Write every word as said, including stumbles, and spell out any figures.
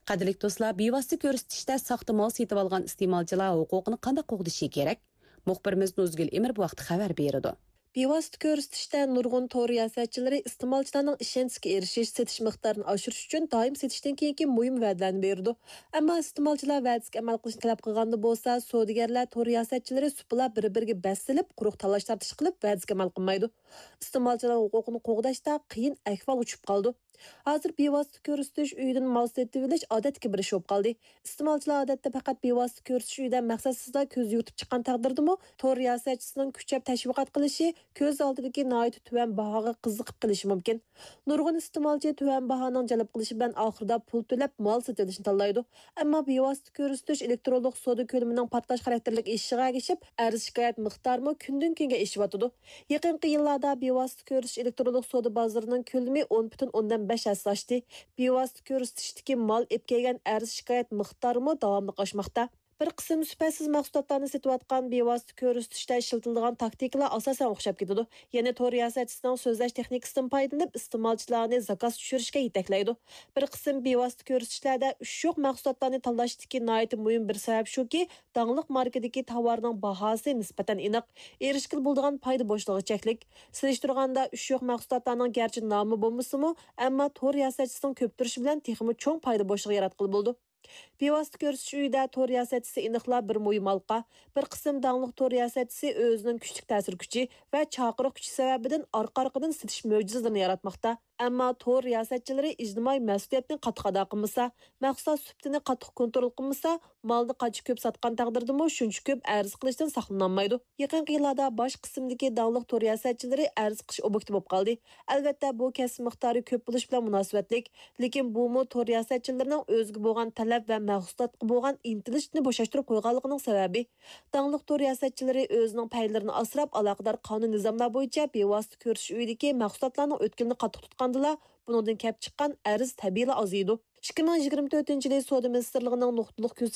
قەدىرلىك دوستلار، بىۋاسىتە كۆرسىتىشتە ساختا مال سېتىۋالغان ئىستېمالچىلار ھوقۇقىنى قانداق قوغدىشى كېرەك؟ مۇخبىرىمىز نۇزگۈل ئىمىر بۇ ھەقتە خەۋەر بېرىدۇ. بىۋاسىتە كۆرسىتىشتە نۇرغۇن تور رىياسەتچىلىرى ئىستېمالچىلارنىڭ ئىشەنچىسىگە ئېرىشىش، سېتىش مىقدارىنى ئاشۇرۇش ئۈچۈن دائىم سېتىشتىن كېيىنكى مۇھىم ۋەدىلەرنى بېرىدۇ. ئەمما ئىستېمالچىلار ۋەدىسىگە ئەمەل قىلىشنى تەلەپ قىلغاندا بولسا، سودىگەرلەر تور رىياسەتچىلىرى سۇپىلا بىر-بىرىگە بەس سېلىپ، قۇرۇق تالاش-تارتىش قىلىپ، ۋەدىسىگە ئەمەل قىلمايدۇ. ئىستېمالچىلار ھوقۇقىنى قوغداشتا قىيىن ئەھۋال ئۇچۇپ قالىدۇ. ھازىر بىۋاسىتە كۆرسىتىش ئۆيىدىن مال سېتىۋېلىش ئادەتتىكى بىر ئىش بولۇپ قالدى. ئىستېمالچىلار ئادەتتە پەقەت بىۋاسىتە كۆرسىتىش ئۆيىدە مەقسەتسىزلا كۆز يۇرتۇپ چىققان تەقدىردىمۇ، تور رىياسەتچىسىنىڭ كۈچەپ تەشۋىقات قىلىشى، كۆز ئالدىدىكى ناھايىتى تۆۋەن باھاغا قىزىقىپ قېلىشى مۇمكىن. نۇرغۇن ئىستېمالچى تۆۋەن باھانىڭ جەلپ قىلىشى بىلەن ئاخىرىدا پۇل تۆلەپ مال سېتىۋېلىشنى تاللايدۇ. ئەمما بىۋاسىتە كۆرسىتىش ئېلېكترونلۇق سودا كۆلىمىنىڭ پارتلاش خاراكتېرلىك ئېشىشىغا ئەگىشىپ، ئەرز-شىكايەت مىقدارىمۇ كۈندىن-كۈنگە ئېشىۋاتىدۇ. يېقىنقى يىللاردا بىۋاسىتە كۆرسىتىش ئېلېكترونلۇق سودا بازىرىنىڭ كۆلىمى ئون پۈتۈن ئوندىن بەش ھەسسە ئاشتى. بىۋاسىتە كۆرسىتىشتىكى مال ئېلىپ كەلگەن ئەرز-شىكايەت مىقدارىمۇ داۋاملىق ئاشماقتا. بىر قىسىم سۈپەتسىز مەھسۇلاتلارنى سېتىۋاتقان بىۋاسىتە كۆرسىتىشتە ئىشلىتىلىدىغان تاكتىكىلار ئاساسەن ئوخشاپ كېتىدۇ. يەنى تور رىياسەتچىسىنىڭ سۆزلەش تېخنىكىسىدىن پايدىلىنىپ، ئىستېمالچىلارنى زاكاز چۈشۈرۈشكە يېتەكلەيدۇ. بىر قىسىم بىۋاسىتە كۆرسىتىشلەردە ئۈچ يوق مەھسۇلاتلارنى تاللاشتىكى ناھايىتى مۇھىم بىر سەۋەب شۇكى، داڭلىق ماركىدىكى تاۋارنىڭ باھاسى نىسبەتەن ئېنىق، ئېرىشكىلى بولىدىغان پايدا بوشلۇقى چەكلىك. سېلىشتۇرغاندا، ئۈچ يوق مەھسۇلاتلارنىڭ گەرچە نامى بولمىسىمۇ، ئەمما تور رىياسەتچىسىنىڭ كۆپ تۇرۇشى بىلەن تېخىمۇ چوڭ پايدا بوشلۇقى ياراتقىلى بولىدۇ. بىۋاسىتە كۆرسىتىش ئۆيىدە تور رىياسەتچىسى ئېنىقلا بىر مۇھىم ھالقا. بىر قىسىم داڭلىق تور رىياسەتچىسى ئۆزىنىڭ كۈچلۈك تەسىر كۈچى ۋە چاقىرىق كۈچى سەۋەبىدىن ئارقا-ئارقىدىن سېتىش مۆجىزىلىرىنى ياراتماقتا. ئەمما تور رىياسەتچىلىرى ئىجتىمائىي مەسئۇلىيەتنى قاتتىق ئادا قىلمىسا، مەھسۇلات سۈپىتىنى قاتتىق كونترول قىلمىسا، مالنى قانچە كۆپ ساتقان تەقدىردىمۇ شۇنچە كۆپ ئەرز قىلىشتىن ساقلىنالمايدۇ. يېقىنقى يىللاردا باش قىسىمدىكى داڭلىق تور رىياسەتچىلىرى ئەرز قىلىش ئوبيېكتى بولۇپ قالدى. ئەلۋەتتە، بۇ كەسىپ مىقدارى كۆپ بولۇش بىلەن مۇناسىۋەتلىك، لېكىن بۇمۇ تور رىياسەتچىلىرىنىڭ ئۆزىگە بولغان تەلەپ ۋە مەھسۇلاتقا بولغان ئىنتىلىشنى بوشاشتۇرۇپ قويغانلىقىنىڭ سەۋەبى. داڭلىق تور رىياسەتچىلىرى ئۆزىنىڭ پەيلىرىنى ئاسراپ، ئالاقىدار قانۇن نىزاملار بويىچە بىۋاسىتە كۆرسىتىش ئۆيىدىكى مەھسۇلاتلارنىڭ ئۆتكىلىنى قاتتىق تۇتقاندىلا، بۇنىڭدىن كەپ چىققان ئەرز تەبىئىيلا ئازىيىدۇ. ئىككى مىڭ يىگىرمە تۆتىنچى يىلى سودا مىنىستىرلىقىنىڭ نۇقتىلىق كۆز